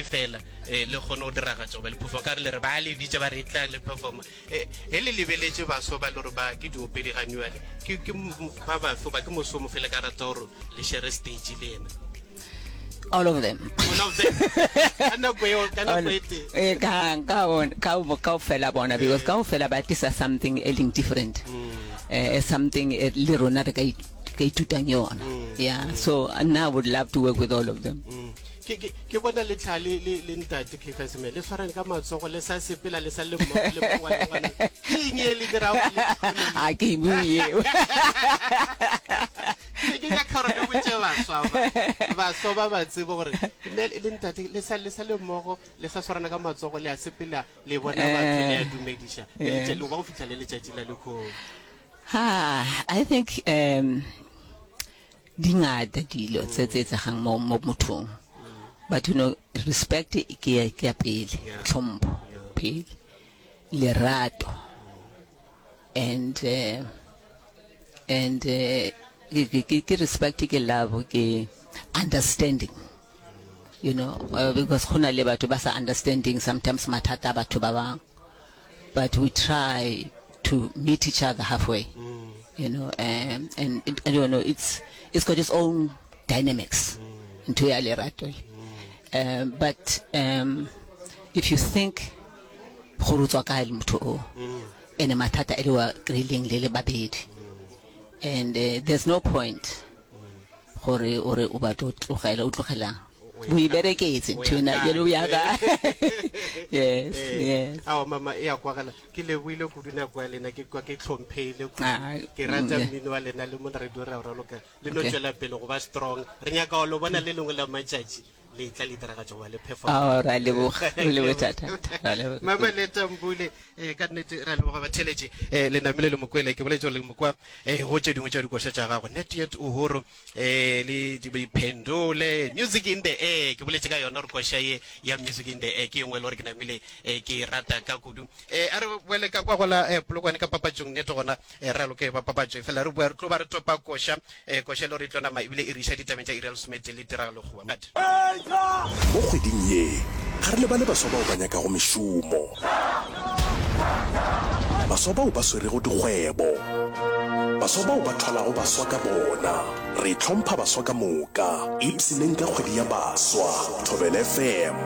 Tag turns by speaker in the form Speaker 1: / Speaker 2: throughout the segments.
Speaker 1: Fela eh, le kgone go diragatša goba le perform ka re le re ba le bitša ba re tla le performa eh, he le lebeletše baswa ba le gore ba ke diopedi ga nywale ke ke ba bafe goba ke moso mo fele ka rata gore le share stage le yena
Speaker 2: all of them
Speaker 1: all of them ka nako eo ka nako e tee
Speaker 2: eh, ka ka ka kaofela bona because eh. kaofela ba tlisa something e leng different mm. eh, something eh, le rona re ka ka ithutang yona mm. yeah mm. so nna i would love to work with all of them
Speaker 1: mm. Ke, ke, ke bona le tlha le, le, le ntate Caiphus me le swarane ka matsogo le sa sepela le sa le mmogo le mongwe le ngwana. Ke eng e le dirago le tlhole?
Speaker 2: A ke e bue eo.
Speaker 1: Ke ke nyaka gore le botše baswa ba, baswa ba ba tsebe gore mme le ntate le sa le sa le mmogo le sa swarana ka matsogo le a sepela le bona batho le a dumediša le letša- le ba go fihla le letšatši la lehono.
Speaker 2: Ha, I think um Di ngata dilo tse tse etsegang mo mo mothong. But you know, respect ke ya ke ya pele, tlhompho pele, lerato and uh, and uh, ke ke ke respect ke love ke understanding. You know, uh, because go na le batho ba sa understanding sometimes mathata a batho ba bang. But we try to meet each other halfway, mm. you know, um, and it, I don't know, it's, it's got its own dynamics mm. ntho ya lerato. Mm. Um, but um, if you think gore o tswa kae le motho o mm. ene mathata e le wa kry-ileng le le babedi and uh, there's no point Gore o re o batla o tlogela, o tlogelang? O e bereketse ntho ena, jale o ya kae? Yes, yes.
Speaker 1: Aowa mama, e a kwagala. Ke lebohile kudu nako ya lena, ke kwa ke hlomphehile kudu. Ah, Ke rata mm, mmino wa lena le mo radio re a o raloka. Le no tšwela pele go ba strong. Re nyaka go lo bona le lengwe la matšatši le tla le diragatša goba le perform.
Speaker 2: Aowa, ra leboga, re leboga thata. Ra leboga.
Speaker 1: Mama Leta Mbule, eh, ka nnete ra leboga batheeletši. Eh, le namile le mo kwele, ke boletše gore le mo kwa eh, go tše dingwe tša dikoša tša gagwe Not Yet Uhuru eh, le Diphendole Music in the Air ke boletše ka yona gore koša ye ya Music in the Air ke engwe e le gore ke namile eh, ke e rata ka kudu eh, a re boele ka kwa gola eh, Polokwane ka papatšong nnete gona eh, re aloke ba papatšo fela re boa re tlo ba re topa koša eh, koša e le gore e tlo nama ebile e re iša ditabeng tša iri ya lesometee le tiragalo goba
Speaker 3: Mo kgweding ye, ga re lebale baswa bao ba nyakago mešomo, baswa bao ba swerego dikgwebo, baswa bao ba thwalago baswa ka bona. Re hlompha baswa ka moka. Ipshineng ka kgwedi ya baswa. Thobela FM,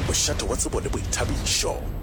Speaker 3: mošate wa tsebo le boithabišo.